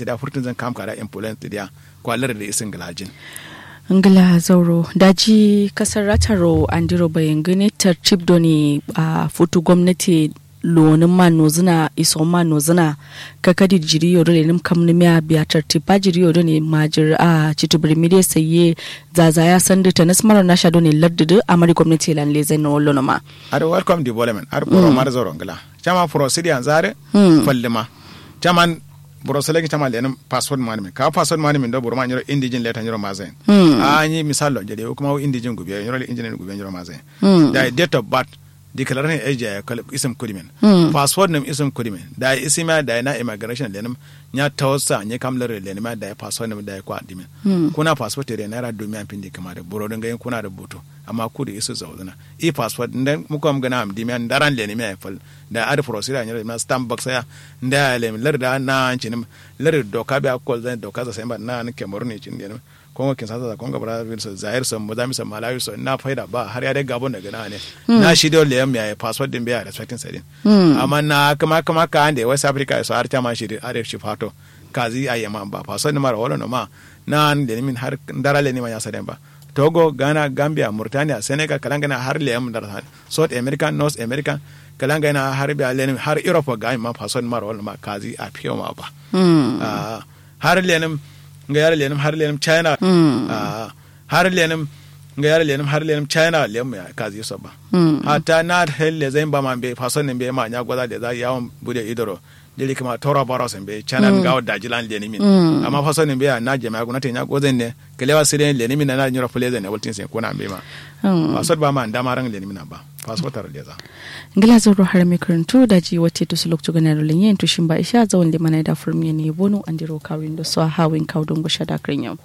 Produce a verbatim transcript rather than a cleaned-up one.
Tida furtun zan kam kada influence tidiya. Kwa lar da isin gilajin. Ngla zauro daji kasar rataro andiro bayangane tartib doni a futu gwamnati. Lonin ma nozuna iso ma nozuna kakadi jiri yodo lenim kamni miya biya tartib ba jiri yodo ne majir a citibir mide saye. Zazaya sandu tanis maro nasha doni lardidi amari gwamnati lan lezai no lono ma. Ar welcome development ar boro mar zoro ngla. Chama procedure yanzu are. Fallima. Chaman boro selegi chaman lenim password mani min ka password mani min do boro ma nyiro indijin leta nyiro mazain. A nyi misal lo jede kuma indijin gubiya nyiro indijin gubiya nyiro mazain. Da date of birth. Declaration age ya kal isim kudimin. Password nim isim kudimin da isimiya da na immigration lenim. Nya tawsa nyi kam lare lenim da password nim da kwa dimin. Kuna password tere naira dumiya pindi kuma da boro dinga yin kuna da butu. Amma kudu isu zauduna i password nda mukom gana am dimiya ndaran lenim ya fal. Da ad procedure nyiro ma stamp box ya nda ya lenim lar da na ancinim. Lar doka biya kol zan doka za sai ba na an kemuru ne cin lenim. Kongo kinsasa sa kongo brazil so zaire so mozambique so malawi so na faida ba har ya dai gabon da gana ne. Na shi do leyam ya password din biya respecting sadin. Amma na kama kama ka ande west africa so har chama shi are shi fato. Kazi ayyama ba password din mara wala no ma na an lenimin har ndara lenimin ya sadin ba. Togo ghana gambia murtaniya senegal kalangana har leyam ndara sadin. South american north american kalangana har biya lenimin har europe ga ma password din mara wala no ma kazi a fiyo ma ba. Har lenim nga yar lenim har lenim china. Har lenim nga yar lenim har lenim china lem ya kazi so ba. Hatta na hel le zain ba man be fason ne be ma nya goza le za yawon bude idoro. Jeli kuma tora baro sen be china nga dajilan lenimin. Amma fason ne be na jama'a guna te nya gozen ne kalewa sire lenimin na nyura fule zen ne waltin sen kuna be ma. Fasot ba ma ndama ran lenimin ba. Fasotar le za. Ngila zoro har mai karantu daji wate to su lokacin ganar lenyen to shin ba isha zawon limana da furmiye ne bono andiro kawin da so hawin kawo don gusha da kirin yau.